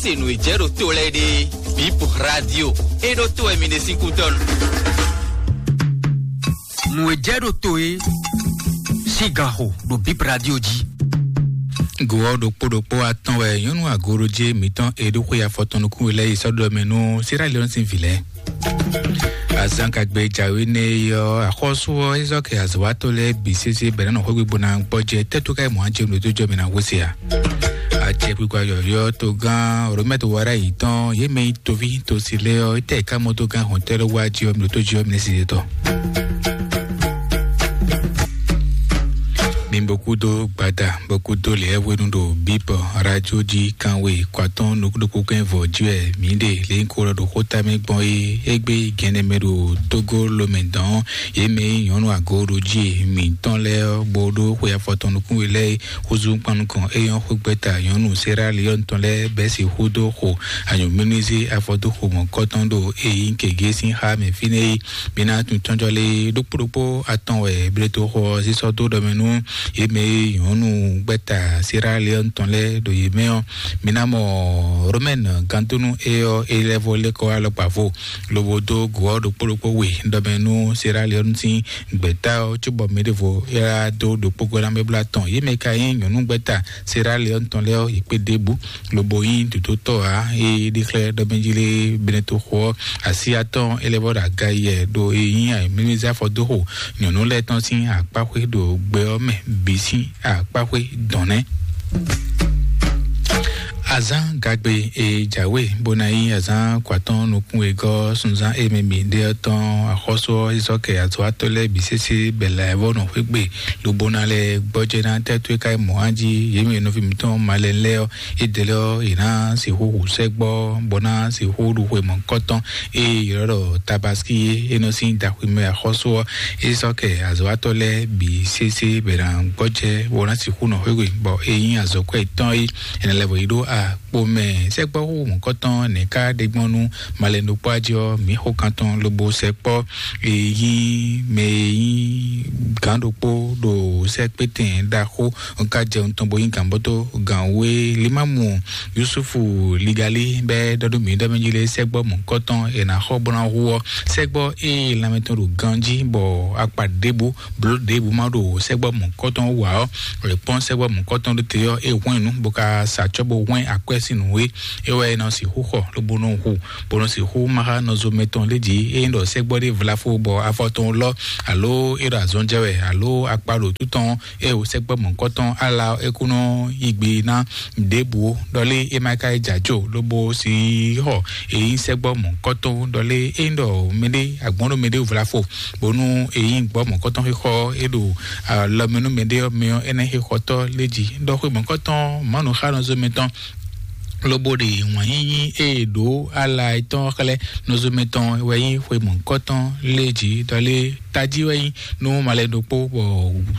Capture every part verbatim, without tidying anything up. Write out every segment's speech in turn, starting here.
Se nǔ e jɛ ɖo to lɛ́ɛ ɖe, Bip Radio e ɖo to wɛ mi ɖe sín kútɔ́ nu. Nǔ e jɛ ɖo to e sín ganxo ɖo Bip Radio jí. Go ɔ́ ɖokpó ɖokpó atɔn wɛ nyɔnu agoroje mǐtɔn e ɖo xwe afɔtɔn nukún we lɛ́ɛ yi sɔ́ ɖɔ mɛ nú Sierra Leone sín vǐ lɛ́ɛ. Azán kagbe jǎwe nɛ yi ɔ́, axɔ́sú ɔ́ é zɔ́ kɛ azɔ̌watɔ́ lɛ́ɛ bǐ sésé bɛ̌ ná nɔ xwé gbígbóná gbɔjɛ tɛ́ tó ká yi mɔ̌ á jɛ nǔ tó jɔ mɛ ná hwesé a? Acɛkpikpa yɔ̌yɔ́ togán Romɛ́t Wara yi tɔn yě mɛ nyí toví tosi lɛ́ɛ ɔ́, étɛ́ ká mɔ togán hɔntɛ́ ló wá jí ɔ́, mǐ ɖo tó jí ɔ́, mǐ ní si yě tɔn. Mi bó kúdó gbada bó kúdó lɛ̌ hwenu ɖo bíbɔ radio jí kanwe kɔatɔn nukúnukú kɛn vɔ jí wɛ mǐ ɖe lě nyí kó lɔ ɖo xóta mɛ gbɔn é égbé gɛnɛ mɛ ɖo tógó lomɛ dɔn yě mɛ nyí nyɔ̌nu agooɖojí mǐtɔn lɛ́ɛ ɔ́, bó ɖó xwe afɔtɔn nukún we lɛ́ɛ xúzú kpan nukɔn é nyɔ́ xwégbɛ́ta nyɔ̌nu Sierra Leone tɔn lɛ́ɛ bɛ́ sixú dó xo anyǔmímízé afɔdóxo mɔ̌kɔtɔn ɖo é nyí gěgé sín xá mɛ fínɛ́ é. Mi ná tunwun tɔ́njɔ lé ɖokpó ɖokpó atɔn wɛ bletoxo ɔ́ sísɔ́ dó ɖɔ mɛ nú yě mɛ e nyɔ̌nu gbɛ́ta Sierra Leone tɔn lɛ́ɛ ɖo yě mɛ ɔ́. Mi ná mɔ Romaine gantúnu é ɔ́ é lɛ́ vɔ lɛ́ kɔ alɔkpa vo lobo dó go ɔ́ ɖokpó ɖokpó we ɖɔ mɛ nú Sierra Leone sín gbɛ̌ta ɔ́, cóbɔ mɛ ɖěvo é wá dó ɖokpó gɔ́ ná mɛ blá tɔn. Yě mɛ ka nyí nyɔ̌nu gbɛ́ta Sierra Leone tɔn lɛ́ɛ ɔ́, yě kpé ɖěbǔ lobo nyí dǒdótɔ́ ǎ. É ɖi xlɛ́ ɖɔ mɛ jí lé Benetoxo ɔ́, asi atɔn é lɛ́ vɔ ɖo aga yɛ ɖo é nyí ayǐmlúmízá afɔdóxo nyɔ̌nu lɛ́ɛ tɔn sín akpáxwé ɖo gbɛ ɔ́ mɛ bǐ sín akpáxwé dɔn nɛ́. Azán gagbe e jǎwe bó ná nyí azán kɔatɔn nukún wegɔ́ sunzán e mɛ mi ɖe ɔ́ tɔn axɔ́sú ɔ́, é sɔ́ kɛ azɔ̌watɔ́ lɛ́ɛ bǐ sésé bɛ̌ lɛ̌ vɔ nɔ xwé gbe lobo ná lɛ́ gbɔjɛ́ ná tɛ́ tó é ka yi mɔ̌ á jí. Yě mɛ nɔví mǐtɔn malɛnu lɛ́ɛ ɔ́, é ɖe lɛ́ ɔ́, yě ná sixú hu sɛ́gbɔ́ bó ná sixú ɖu xwe mɔ̌kɔtɔn e ylɔ́ ɖɔ Tabaski é, é nɔ sín daxwimɛ axɔ́sú ɔ́, é sɔ́ kɛ azɔ̌watɔ́ lɛ́ɛ bǐ sésé bɛ̌ ná gbɔjɛ́ bó ná sixú nɔ xwé gbe, bɔ é nyí azɔ̌kwɛ́ yětɔn é. È nɔ lɛ́ vɔ yi ɖó a kpo mɛ sɛkpɔ́ xóxó mɔ̌kɔtɔn nɛ̌ ká ɖe gbɔn nú malɛnu ɖokpó jí ɔ́, mǐ xo kan tɔn lobo sɛkpɔ́ e nyí mɛ e nyí gǎn ɖokpó ɖo sɛkpétɛn ɖaxó ka jɛ nukɔn bó nyí gǎnbɔ́tɔ́ gǎn wé Limamu Yusufu Ligali bɛ ɖɔ ɖó mǐ ɖɔ mɛ jí lé sɛkpɔ́ mɔ̌kɔtɔn è nǎ xɔ bó ná hu ɔ́, sɛkpɔ́ e lanmɛ tɔn ɖo ganjí bɔ akpa ɖěbǔ bló ɖěbǔ ma ɖo sɛ́gbɔ mɔ̌kɔtɔn wǎ ɔ́, è kpɔ́n sɛ́gbɔ mɔ̌kɔtɔn ɖé te ɔ́, é hwɛ́n nǔ bó ka sa acɔ́ bó hwɛ́n akwɛ́ sín nǔ é. É wɛ è nɔ sixú xɔ lobo nɔ hu, bó nɔ sixú má xá nɔzo mɛtɔn lé jí. Ényí ɖɔ sɛ́gbɔ ɖé vlafo bɔ afɔ tɔn lɔ, alo é ɖo azɔn jɛ wɛ, alo akpa ɖo tú tɔn, é wo sɛ́gbɔ mɔ̌kɔtɔn ala ɔ́, é kú nɔ yi gbe ná ɖěbǔ ó. Ɖɔ lé é má ka yi jǎ jó lobo si xɔ èyí sɛ́gbɔ mɔ̌kɔtɔn. Ɖɔ lé é ɖɔ mɛɖé agbɔ̌n ɖo mɛɖé vlafo bónú èyí gbɔ mɔ̌kɔtɔn xixɔ é ɖo alɔmɛ nú mɛɖé ɔ́ mɛ ɔ́, énɛ́ xixɔtɔ́ lé jí ɖɔ xwe mɔ̌kɔtɔn Mawu xá nɔzɔ́mɛ tɔn lobo ɖe wǎn yíyí e è ɖǒ ala etɔn xlɛ́ nɔzɔ́mɛ tɔn wɛ nyí xwe mɔ̌kɔtɔn lé jí ɖɔ lé tají wɛ nyí nú malɛ ɖokpó bɔ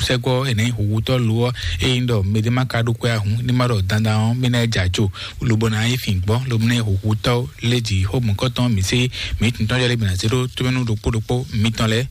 sɛ́gbɔ è nǎ nyí hǔhútɔ́ lo ɔ́, ényí ɖɔ mɛɖé má ka ɖó kwɛ́ ahun ní má ɖɔ dandan ɔ́, mí ná yi jɛ ajo lobo ná nyí fǐngbɔ́n lobo ná nyí hǔhútɔ́ lé jí xó mɔ̌kɔtɔn mǐ sé mǐ tun tɔ́njɔ lé mǐ ná zé ɖó tómɛnú ɖokpó ɖokpó mitɔn lɛ́ɛ.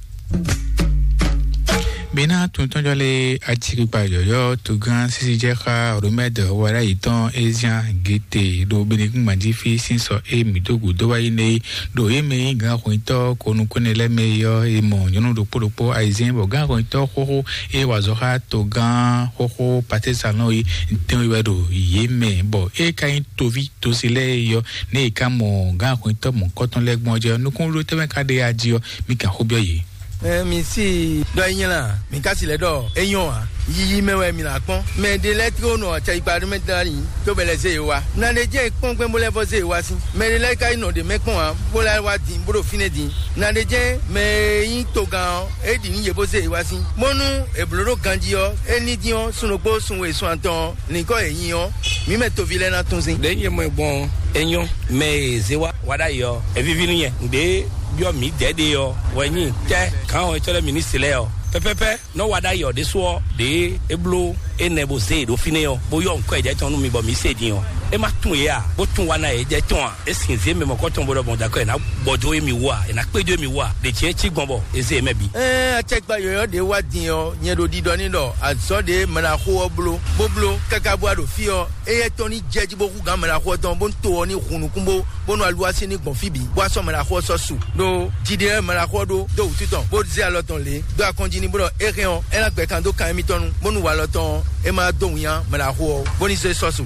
Mǐ ná tun tɔ́njɔ lé acikpikpa yɔ̌yɔ́ togán sísí jɛ xá Romɛd wɛɖá yětɔn Ezian Gete ɖo Benegúngban jí fí sín sɔ e mǐ dó gǔdo wá yi nɛ é ɖo yě mɛ nyí gǎn xwǐntɔ́ konukúnɛ lɛ́ɛ mɛ é ɔ́, è mɔ nyɔ̌nu ɖokpó ɖokpó ayizɛ́n bɔ gǎn xwǐntɔ́ xóxó e wa azɔ̌ xá togán xóxó Patísalɔn é tɛ́nwe wɛ ɖo yě mɛ, bɔ é ka nyí toví tosi lɛ́ɛ é ɔ́, nɛ́ è ka mɔ gǎn xwǐntɔ́ mɔ̌kɔtɔn lɛ́ɛ gbɔn ɔ́ jɛ ɔ́, nukúnɖótɔ́ mɛ ka ɖe aji ɔ́, mi kan xó byɔ́ yě. Ɛ mi si ɖɔ é nyí la, mi ka si lɛ ɖɔ é nyɔ́ ǎ. Yiyi mɛ wɛ mi ná kpɔ́n. Mɛ ɖé lɛ́ɛ tló nɔ acɛyikpa ɖé mɛ dlán yi, tó bɛ lɛ zé yě wá. Na ɖé jẹ́ kpɔ́n gbɛn bó lɛ́ vɔ zé yě wá sí. Mɛ ɖé lɛ́ɛ ka yi nɔ ɖě mɛ kpɔ́n ǎ, bó lɛ́ wá din, bó ɖo fínɛ́ din. Na ɖé jẹ́ mɛ e nyí togán ɔ́, é ɖi nú yě bó zé yě wá sí. Bónú è blǒ ɖó ganjí ɔ́, é ní dín ɔ́, sun ɖokpó, sun we, sun atɔn ɔ́, nyǐkɔ yě nyi ɔ́, mǐ mɛ toví lɛ́ɛ ná tún sín. Ɖě nyɛ mɔ ɛ gbɔn ɔ́, é nyɔ́. Mɛ e zé wá wá ɖ'ayǐ ɔ́, é víví nú nyɛ. Nǔɖé byɔ́ mǐ dɛ̌ ɖe ɔ́ wɛ nyí tɛ́ gǎn ɔ́ e cɔ́ lɛ́ mǐ ní se lɛ́ɛ ɔ́. Pɛ́pɛ́pɛ́ nɔ́ wá ɖ'ayǐ ɔ́ ɖésú ɔ́, ɖěe é bló Énɛ́ bó zé e ɖo fínɛ́ ɔ́, bó yɔ nǔkɔ e jɛ tɔn nú mi bɔ mi se din ɔ́, é má tún yě a? Bó tún wa ná yě jɛ tɔn a? É sin zé mɛ mɔ̌kɔtɔn bó ɖɔ mɔ̌ dó akɔ è nǎ gbɔ dó émi wú a? È nǎ kpé dó émi wú a? Ɖě jɛ́n cí gbɔn bɔ è zé yě mɛ bǐ. Ɛɛ, acɛkpa yɔ̌yɔ́ ɖě wá din ɔ́, nyɛ ɖo ɖiɖɔ ní ɖɔ azɔ̌ ɖě mɛɖaxó ɔ́ bló, bó bló káká bó wá ɖo fí ɔ́, éyɛ́ tɔn ní jɛ jí bó hú gǎn mɛɖaxó ɔ́ tɔn, bónú to ɔ́ ní hun nukún bó, bónú aluwási ní gbɔn fí bǐ, bó wá sɔ́ mɛɖaxó ɔ́ sɔ́ su. Ɖó jiɖe ɔ́ mɛɖaxó ɔ́ ɖó dó wǔtu tɔn, bó zé alɔ tɔn lě, dó akɔ́njí ní bó ɖɔ é hɛn ɔ́, é ná gbɛ kan dó kan émítɔn nu, bónú walɔ tɔn ɔ́, é má dó winnyá mɛɖaxó ɔ́, bó ní zé sɔ́ su.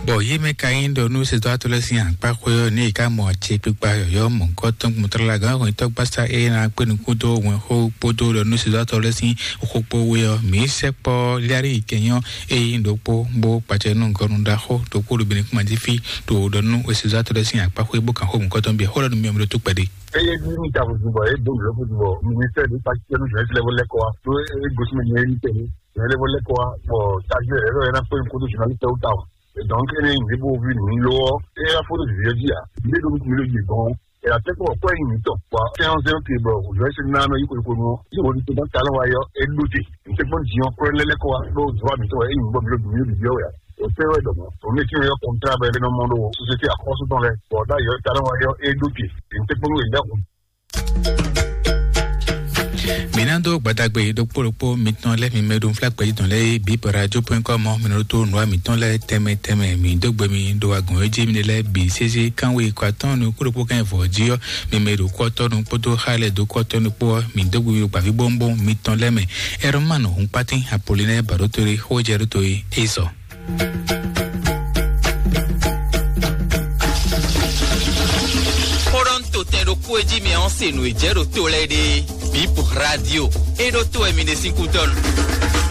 Bɔ yě mɛ ka nyí ɖɔ nú sɛdɔ́tɔ́ lɛ́ɛ sín akpáxwé ɔ́, ní è ká mɔ acékpikpa yɔ̌yɔ́ mɔ̌hunkɔtɔn gbɔntrɔ́lá gǎn hwɛntɔ́ gbásá e ná kpé nukún dó wɛnxó kpódó ɖɔ nú sɛdɔ́tɔ́ lɛ́ɛ sín xó kpó wé ɔ́, mǐ sɛkpɔ́ Liari kɛnyɔ́ e nyí ɖokpó bó kpacɛ nú gɔnu ɖaxó ɖokpó ɖo Benin kúma jí fí ɖo ɖɔ nú sɛdɔ́tɔ́ lɛ́ɛ sín akpáxwé bó kan xó mɔ̌hunkɔtɔn bíi xó lɛ́ɛ nú mì ɔ́ mɛ ɖó tó kpɛɖé. Eye ní ní ta vodun bɔ eye dó nǔ lɔ vodun bɔ ministère de pati kɛnu jɔn ti lɛ bɔ lɛ kɔ wa ɖó eye gosi mɛ nyɛ ní tɛni jɔn lɛ bɔ lɛ kɔ wa bɔ tajú ɛ lɔ yɛ na kpé nukún dó jɔn ní tɛwó ta o. Donc ene ní bo vi nǔ lɔ ɔ eye afɔ dó vivi ɔdzi a. Ní ɖo nukún mi ló yi gbɔn ɛ la tɛ kɔ kɔ yi nítɔ bɔ tɛ ɔn zɛ oke bɔ òjò ɛsɛ nínú anɔ yi kolikoli mɔ yi wòlí tó dán talẹ wa yɔ e ɖó te. N tɛ kpɔn diɲɔ kúrẹ́ lɛlɛ kɔ wa ɖó zɔ mi tɔ ɛ yi gbɔ mi ló dùn mi ló dùn yɔ ya. O tɛ wɛ dɔmɔ o mi ti yɔ kɔntra bɛ nɔ mɔ ɖo sosiyete akɔsu tɔn lɛ bɔ da yɔ talẹ wa yɔ e ɖó te. N tɛ kpɔn wɛ lɛ kun. Mǐ ná dó gbadagbe ɖokpó ɖokpó mitɔn lɛ́ɛ mi mɛ ɖo nflá gbɛ̌jitɔn lɛ́ɛ é bǐ radio point com ɔ́, mi nɔ ɖótó nǔwa mǐtɔn lɛ́ɛ tɛnmɛ tɛnmɛ. Mǐ dó gbe mi ɖo agɔ̌n e jí mi ɖe lɛ́ɛ bǐ sésé kánwe kɔ atɔ́ɔ́n nukún ɖokpó kán yi vɔ̌ jí ɔ́, mi mɛ ɖo kú ɔ́ tɔ́ nu kpódó xá lɛ́ɛ dó kú ɔ́ tɔ́ nu kpó ɔ́, mǐ dó gbe mi ɖo gbǎvíbówúnbówún mitɔn lɛ́ɛ mɛ. Ɛrɔmanu Hunpátín Apolinɛ́ɛ Bǎɖótolé xó jɛ ɖó to é é sɔ. Xó ɖɔ un to tɛn ɖokpó e jí mi ɔ́ se nǔ e jɛ ɖo to lɛ́ɛ ɖe. Bip Radio. E ɖo to wɛ mi ɖe sín kú dɔn.